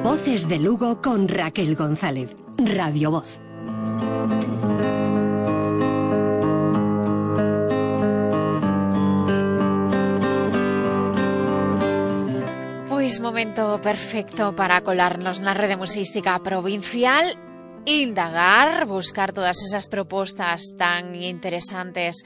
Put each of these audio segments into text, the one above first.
Voces de Lugo con Raquel González. Radio Voz. Pois momento perfecto para colarnos na rede museística provincial, indagar, buscar todas esas propostas tan interesantes,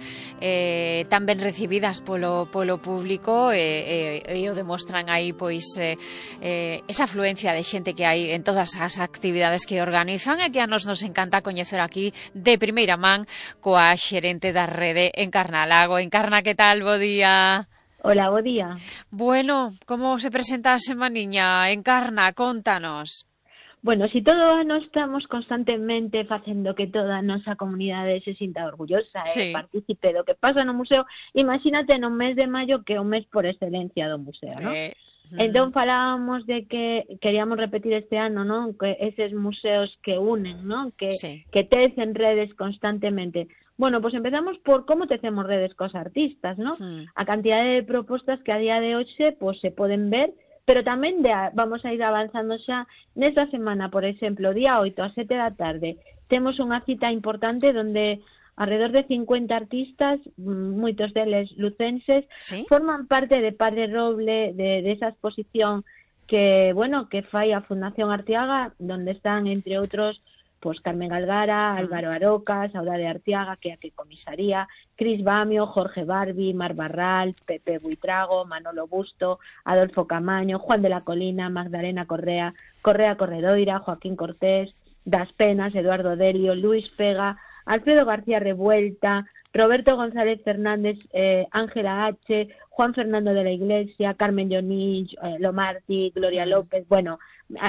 tan ben recibidas polo público, e o demostran aí pois esa afluencia de xente que hai en todas as actividades que organizan e que a nos encanta coñecer aquí de primeira man coa xerente da rede, Encarna Lago. Encarna, que tal? Bo día. Hola, bo día. Bueno, como se presenta a semaniña? Encarna, contanos. Bueno, si todo ano estamos constantemente facendo que toda a nosa comunidade se sinta orgullosa e partícipe do que pasa no museo, imagínate no mes de maio, que é o mes por excelencia do museo, ¿no? Entón falábamos de que queríamos repetir este ano, ¿no? Que eses museos que unen, ¿no? Que tecen redes constantemente. Bueno, pues empezamos por cómo tecemos redes cos artistas, ¿no? A cantidade de propostas que a día de hoxe pues, se poden ver, pero tamén vamos a ir avanzando xa nesta semana, por exemplo, día 8 a 7 da tarde, temos unha cita importante donde alrededor de 50 artistas, moitos deles lucenses, forman parte de Padre Roble, de esa exposición que, bueno, que fai a Fundación Arteaga, donde están, entre outros, pues Carmen Galgara, Álvaro Aroca, Saudade Arteaga, que comisaría, Cris Bamio, Jorge Barbi, Mar Barral, Pepe Buitrago, Manolo Busto, Adolfo Camaño, Juan de la Colina, Magdalena Correa, Correa Corredoira, Joaquín Cortés, Das Penas, Eduardo Delio, Luis Pega, Alfredo García Revuelta, Roberto González Fernández, Ángela H., Juan Fernando de la Iglesia, Carmen Jonich, Lomarti, Gloria López, bueno,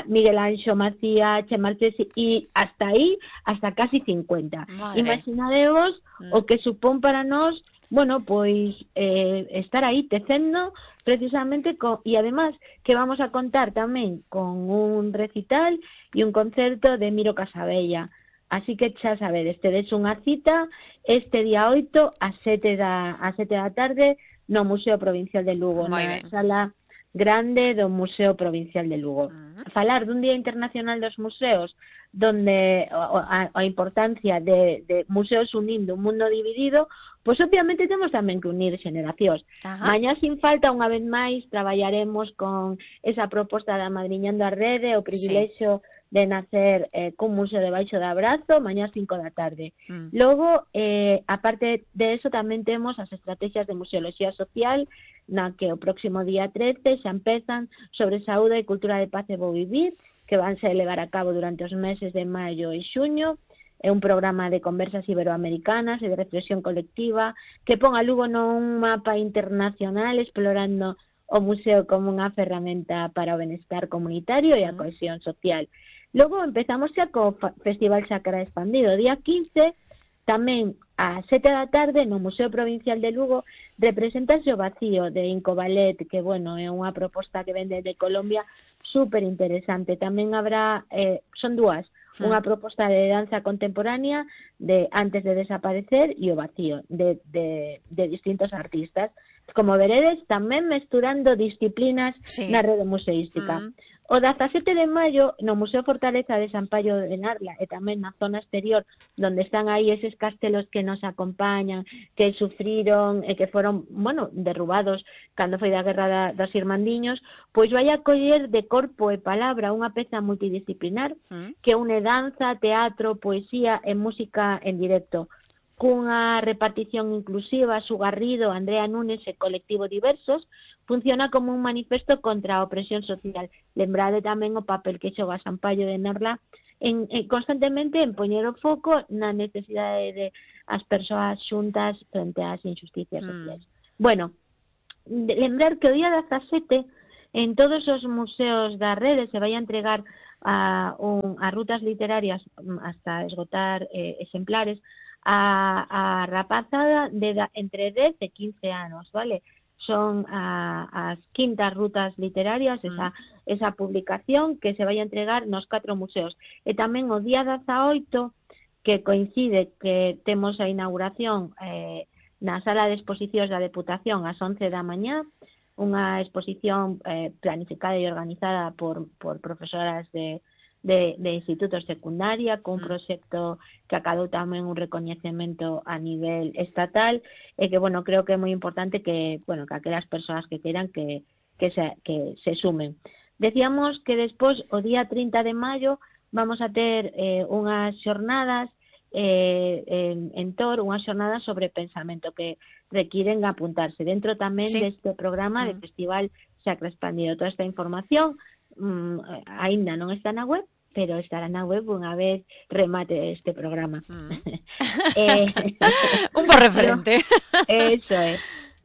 Miguel Anxo Macía, Che Marchesi, y hasta aí, hasta casi 50. Madre. Imaginadevos o que supón para nós, bueno, pois estar aí tecendo precisamente e además que vamos a contar tamén con un recital e un concerto de Miro Casabella. Así que xa sabedes, tedes unha cita este día 8 a 7 da tarde no Museo Provincial de Lugo, na sala grande do Museo Provincial de Lugo. Falar dun Día Internacional dos Museos, donde a importancia de museos unindo un mundo dividido, pois obviamente temos tamén que unir xeneracións. Mañá, sin falta, unha vez máis, traballaremos con esa proposta da Madriñando a Rede, o privilexio de nacer cun museo debaixo de abrazo, mañá 5 da tarde. Logo, aparte de eso, tamén temos as estrategias de museoloxía social, na que o próximo día 13 xa empezan sobre saúde e cultura de paz e bo vivir, que vanse levar a cabo durante os meses de maio e xuño. É un programa de conversas iberoamericanas e de reflexión colectiva que pon a Lugo nun mapa internacional explorando o museo como unha ferramenta para o benestar comunitario e a cohesión social. Logo empezamos xa co Festival Xacra Expandido, día 15, tamén a 7 da tarde no Museo Provincial de Lugo representase o Vacío de Inco Ballet, que, bueno, é unha proposta que vende de Colombia super interesante. Tamén habrá, son dúas, unha proposta de danza contemporánea de Antes de Desaparecer e o Vacío, de distintos artistas. Como veredes, tamén mesturando disciplinas na rede museística. O 17 de maio, no Museo Fortaleza de San Paio de Narla e tamén na zona exterior, donde están aí eses castelos que nos acompañan, que sufriron e que foron, bueno, derrubados cando foi da Guerra dos Irmandiños, pois vai a coller de corpo e palabra unha peza multidisciplinar que une danza, teatro, poesía e música en directo, cunha repartición inclusiva. Su Garrido, Andrea Núñez e Colectivo Diversos, funciona como un manifesto contra a opresión social. Lembrade tamén o papel que xoga San Paio de Narla constantemente en poñer o foco na necesidade de as persoas xuntas frente ás injusticias sociais. Bueno, lembrar que o día 17 en todos os museos da rede se vai a entregar a rutas literarias hasta esgotar exemplares a rapazada de entre 10 e 15 anos, vale? Son as quintas rutas literarias, esa publicación que se vai a entregar nos 4 museos. E tamén o día 18, que coincide que temos a inauguración na sala de exposicións da Deputación ás 11 da mañá, unha exposición planificada e organizada por profesoras de institutos secundaria, con un proxecto que acadou tamén un recoñecemento a nivel estatal, e que, bueno, creo que é moi importante que, bueno, que aquelas persoas que queiran que se sumen. Decíamos que despois, o día 30 de maio, vamos a ter unhas xornadas en Tor, unhas xornadas sobre pensamento que requiren apuntarse dentro tamén deste programa de Festival Sacra Expandido. Toda esta información aínda non está na web, pero estará na web unha vez remate este programa. Un bo referente. Eso é.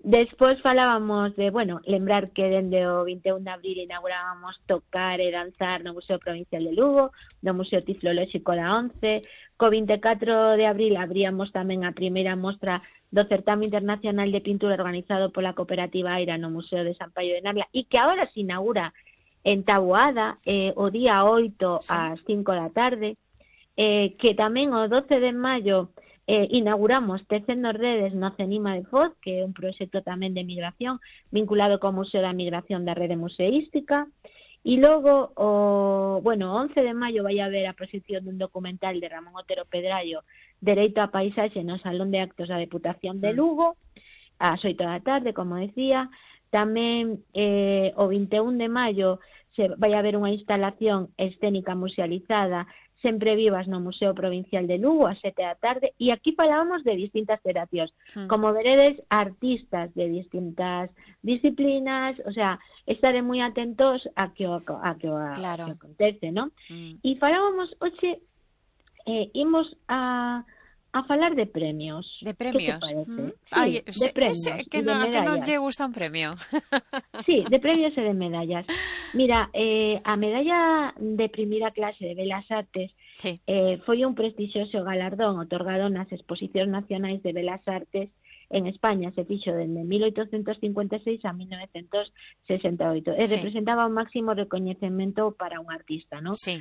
Despois falábamos de, bueno, lembrar que dende o 21 de abril inaugurábamos Tocar e Danzar no Museo Provincial de Lugo, no Museo Tiflolóxico da ONCE. Co 24 de abril abríamos tamén a primeira mostra do Certame Internacional de Pintura organizado pola Cooperativa Aira no Museo de San Paio de Navia, e que agora se inaugura en Taboada, o día 8 ás 5 da tarde, que tamén o 12 de maio inauguramos Tecendo Redes no Cenima de Foz, que é un proxecto tamén de migración vinculado co Museo da Migración da Rede Museística, e logo, o 11 de maio vai haber a proxección dun documental de Ramón Otero Pedrallo, Dereito á Paisaxe, no Salón de Actos da Deputación de Lugo, ás 8 da tarde, como decía. Tamén o 21 de maio vai haber unha instalación escénica musealizada, Sempre Vivas, no Museo Provincial de Lugo, ás 7 da tarde, e aquí falábamos de distintas terapías. Como veredes, artistas de distintas disciplinas, o sea, estaré moi atentos a que acontece, ¿no? E falábamos, hoxe, imos a falar de premios. De premios? ¿Qué te parece? Ay, de premios, que de medallas. Que non lle gusta un premio. Sí, de premios e de medallas. Mira, a medalla de primeira clase de Belas Artes foi un prestixioso galardón otorgado nas Exposicións Nacionais de Belas Artes en España. Se fixo dende 1856 a 1968 e representaba un máximo recoñecemento para un artista, ¿no? Sí.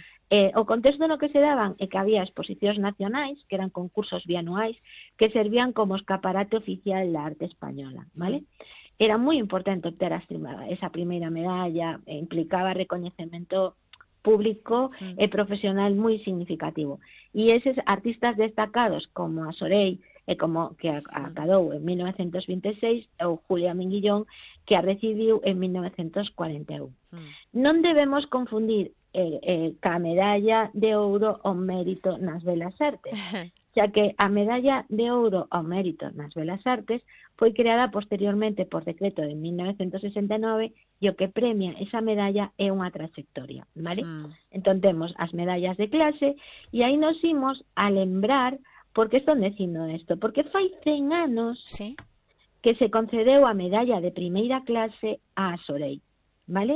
O contexto no que se daban é que había exposicións nacionais, que eran concursos bianuais, que servían como escaparate oficial da arte española, ¿vale? Era moi importante obter esa primeira medalla, implicaba recoñecemento público e profesional moi significativo. E eses artistas destacados como a Sorey, e como que acadou en 1926, ou Julia Minguillón, que a recibiu en 1941. Non debemos confundir ca medalla de ouro ao mérito nas Belas Artes, xa que a medalla de ouro ao mérito nas Belas Artes foi creada posteriormente por decreto de 1969, e o que premia esa medalla é unha trayectoria, vale? Entón temos as medallas de clase, e aí nos imos a lembrar. Por que estou dicindo isto? Porque fai 100 anos que se concedeu a medalla de primeira clase a Sorey, vale?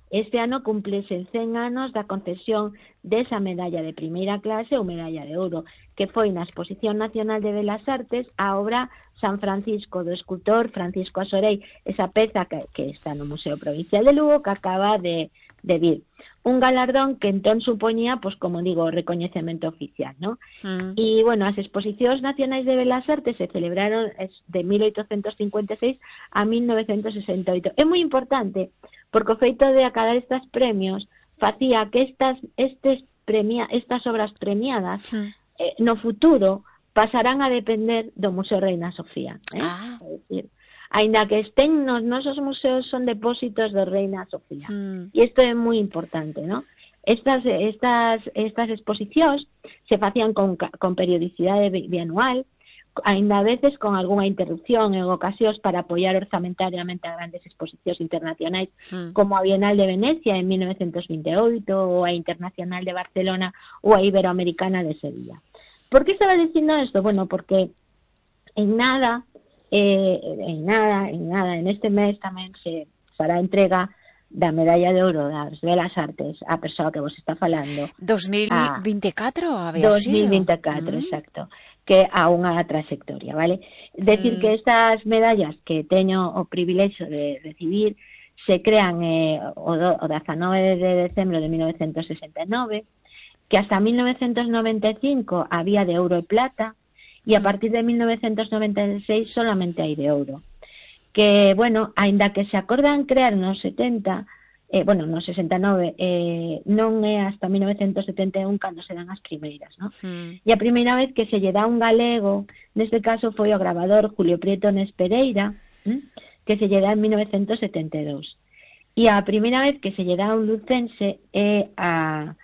Este ano cumplese 100 anos da concesión desa medalla de primeira clase ou medalla de ouro, que foi na Exposición Nacional de Belas Artes a obra San Francisco do escultor Francisco Sorey, esa peza que está no Museo Provincial de Lugo, que acaba de vir. Un galardón que entón supoñía, pues como digo, recoñecemento oficial, ¿no? E, bueno, as exposicións nacionais de Belas Artes se celebraron de 1856 a 1968. É moi importante, porque o feito de acadar estes premios facía que estas obras premiadas no futuro pasarán a depender do Museo Reina Sofía. É dicir, aínda que estén nos nosos museos, son depósitos do Reina Sofía. E isto é moi importante, ¿no? Estas exposicións se facían con periodicidade bianual, aínda a veces con algunha interrupción en ocasións para apoiar orzamentariamente a grandes exposicións internacionais, como a Bienal de Venecia en 1928, ou a Internacional de Barcelona, ou a Iberoamericana de Sevilla. Por que estaba dicindo isto? Bueno, porque en este mes tamén se fará entrega da medalla de ouro das Belas Artes a persoa que vos está falando. 2024 había sido. 2024, exacto, que a unha trayectoria, vale? Decir que estas medallas que teño o privilexio de recibir se crean o 19 de decembro de 1969, que hasta 1995 había de ouro e plata, e a partir de 1996 solamente hai de ouro. que, bueno, aínda que se acordan crear nos 70, no 69, non é hasta 1971 cando se dan as primeiras, ¿no? E a primeira vez que se lle dá un galego, neste caso foi o gravador Julio Prieto Nespereira, que se lle dá en 1972. E a primeira vez que se lle dá un lucense é a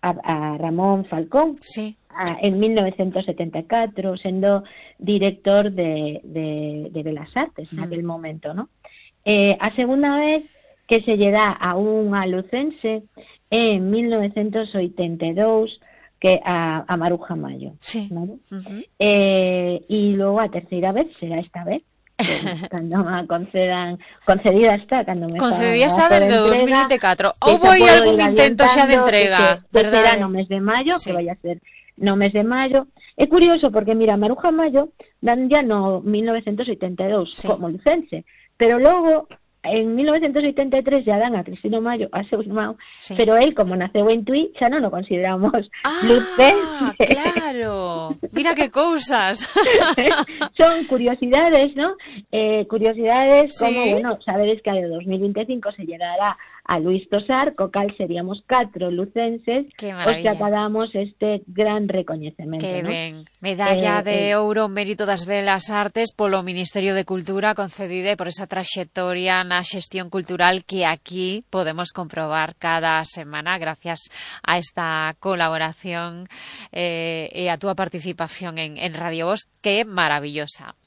Ramón Falcón, sí, en 1974, sendo director de Belas Artes naquele momento, ¿no? A segunda vez que se lle dá a unha lucense é en 1982, que a Maruja Mayo, sí. ¿vale? E logo a terceira vez será esta vez, cando me concedida está, cando me concedida está desde 2024. Houbo aí algún intento xa de entrega, verdade? Será no mes de maio, sí, que vai a ser no mes de maio. É curioso porque, mira, Maruja Mayo dan ya no 1982, sí, como license, pero logo en 1983 ya dan a Cristino Mayo, a seu irmão, sí, pero él, como naceu en Tui, xa non o consideramos lucense. Claro, mira que cousas. Son curiosidades, ¿no? Curiosidades, sí, como, bueno, sabedes que a 2025 se lle dará a Luis Tosar, co cal seríamos 4 lucenses, os que acabamos este gran recoñecemento, que ¿no? ben, medalla de ouro mérito das Belas Artes polo Ministerio de Cultura, concedida por esa traxectoria na xestión cultural que aquí podemos comprobar cada semana gracias a esta colaboración e a túa participación en Radio Voz, que é maravillosa.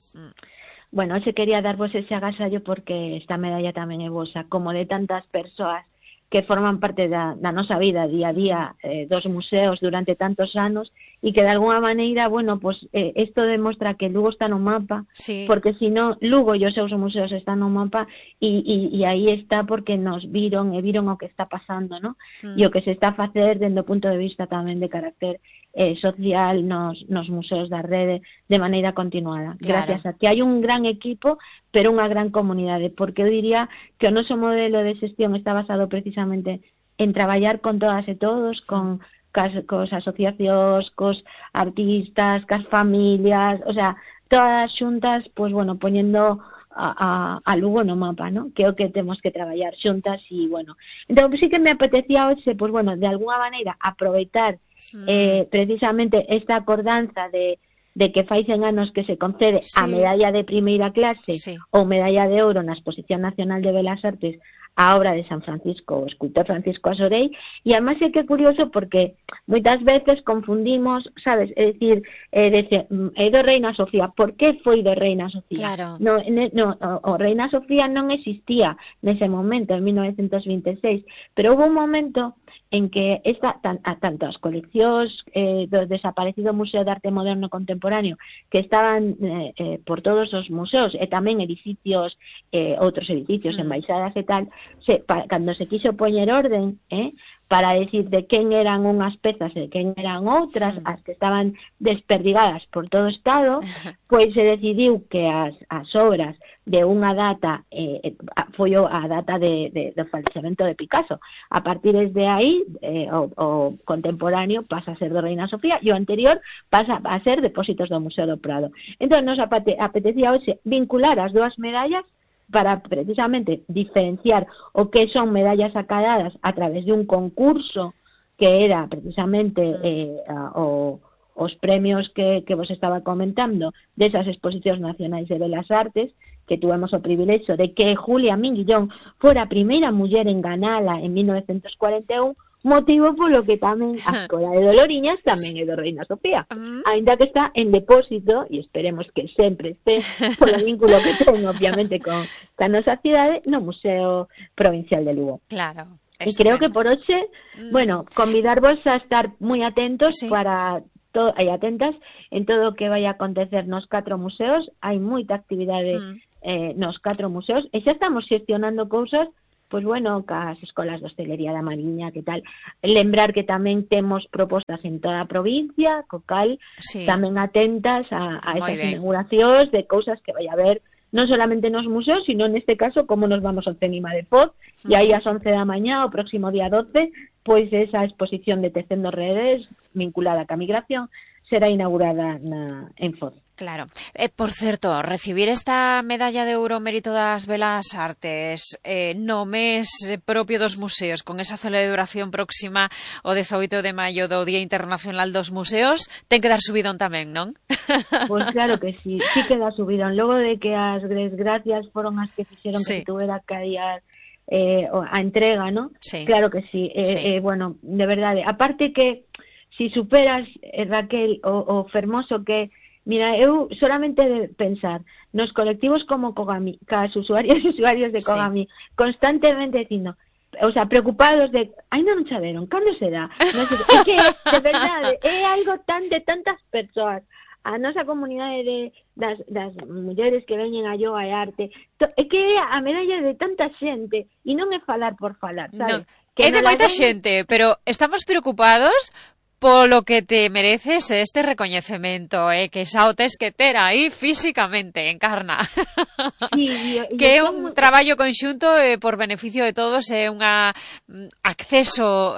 Bueno, se quería darvos ese agasallo porque esta medalla tamén é vosa, como de tantas persoas que forman parte da nosa vida día a día dos museos durante tantos anos e que de alguna maneira, bueno, pues isto demostra que Lugo está no mapa, sí, porque si non, Lugo e os seus museos están no mapa e aí está porque nos viron e viron o que está pasando, ¿no? E o que se está a facer dende o punto de vista tamén de carácter social nos museos da rede de maneira continuada. Claro. Gracias a que hai un gran equipo, pero unha gran comunidade, porque eu diría que o noso modelo de xestión está basado precisamente en traballar con todas e todos, con cos asociacións, cos artistas, cas familias, o sea, todas xuntas, pues bueno, poñendo a Lugo no mapa, ¿no? Que é o que temos que traballar xuntas e, bueno. Entón, sí que me apetecía hoxe, pues bueno, de alguna maneira aproveitar precisamente esta acordanza de que fai 100 anos que se concede, sí, a medalla de primeira clase, sí, ou medalla de ouro na Exposición Nacional de Belas Artes a obra de San Francisco, o escultor Francisco Asorei, e además é que é curioso porque moitas veces confundimos, sabes, é dicir, é do Reina Sofía. Por que foi do Reina Sofía? Claro. No, o Reina Sofía non existía nese momento, en 1926, pero houve un momento en que tanto as coleccións do desaparecido Museo de Arte Moderno Contemporáneo, que estaban por todos os museos, e tamén edificios, outros edificios, embaixadas e tal, cando se quiso poñer orden, para decir de quen eran unhas pezas e de quen eran outras, as que estaban desperdigadas por todo o Estado, pois se decidiu que as obras de unha data foi a data do falecemento de Picasso. A partir de aí, o contemporáneo pasa a ser do Reina Sofía e o anterior pasa a ser Depósitos do Museo do Prado. Entón, nos apetecía hoxe vincular as dúas medallas para precisamente diferenciar o que son medallas acadadas a través de un concurso que era precisamente os premios que vos estaba comentando desas exposicións nacionais de Belas Artes, que tuvemos o privilexio de que Julia Minguillón fora a primeira muller en ganala en 1941, motivo polo que tamén a Escola de Doloriñas tamén é do Reina Sofía, aínda que está en depósito, e esperemos que sempre este, polo vínculo que ten, obviamente, con a nosa cidade, no Museo Provincial de Lugo. Claro. E creo que por hoxe, bueno, convidarvos a estar moi atentos, sí, para e atentas en todo o que vai a acontecer nos 4 museos. Hai moita actividade nos 4 museos, e xa estamos xestionando cousas, pois bueno, cas escolas de hostelería da Mariña, que tal. Lembrar que tamén temos propostas en toda a provincia, co cal, sí, tamén atentas a esas inauguracións de cousas que vai a haber non solamente nos museos, sino neste caso como nos vamos ao Cenima de Foz, e aí ás 11 da mañá, o próximo día 12, pois esa exposición de Tecendo Redes vinculada ca migración será inaugurada en Foz. Claro. Por certo, recibir esta medalla de ouro mérito das Belas Artes no mes propio dos museos, con esa celebración próxima o 18 de maio do Día Internacional dos Museos, ten que dar subidón tamén, non? Pois claro que sí que dá subidón. Logo de que as gracias foron as que fixeron que se tuvera que adiar a entrega, ¿no? Sí. Claro que sí. Bueno, de verdade. Aparte que, si superas, Raquel, o fermoso que... Mira, eu solamente de pensar nos colectivos como Kogami, cas usuarios e usuarios de Kogami, constantemente dicindo, o sea, preocupados de, non saberon, cando será? Non sei, é que, de verdade, é algo de tantas persoas. A nosa comunidade das mulleres que veñen a yoga e arte, é que é a medalla de tanta xente, e non é falar por falar, sabes? Non, é de moita xente, pero estamos preocupados polo que te mereces este recoñecemento, que xa o tes que ter aí físicamente, Encarna. Sí, que é un traballo conxunto por beneficio de todos, é un acceso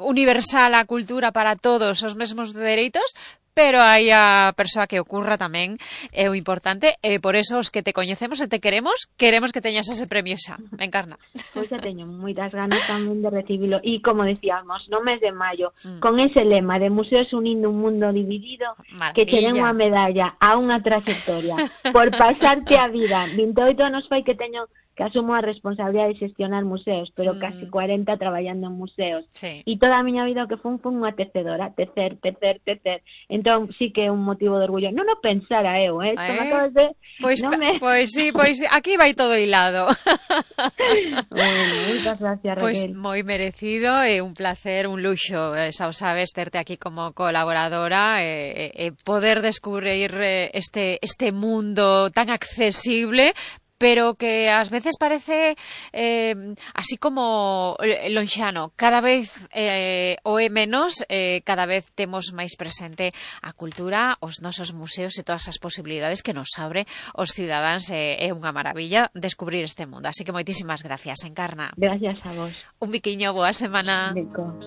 universal á cultura para todos os mesmos dereitos, pero hai a persoa que ocurra tamén é o importante, e por eso os que te coñecemos e te queremos que teñas ese premio xa, Encarna. Pois xa teño moitas ganas tamén de recibilo, e como decíamos, no mes de maio, con ese lema de Museos unindo un mundo dividido, que che den unha medalla a unha trayectoria por pasarte a vida. 28 anos fai que asumo a responsabilidade de xestionar museos, pero casi 40 traballando en museos. Sí. E toda a miña vida o que fun unha tecedora, tecer. Entón, sí que é un motivo de orgullo. Non o pensara eu, Pois aquí vai todo hilado. Bueno, moitas gracias, Raquel. Pois moi merecido, é un placer, un luxo, xa o sabes, terte aquí como colaboradora e poder descubrir este mundo tan accesible, pero que ás veces parece así como lonxano. Cada vez o é menos, cada vez temos máis presente a cultura, os nosos museos e todas as posibilidades que nos abre os cidadáns. É unha maravilla descubrir este mundo. Así que moitísimas gracias, Encarna. Gracias a vos. Un biquiño, boa semana. Bicos.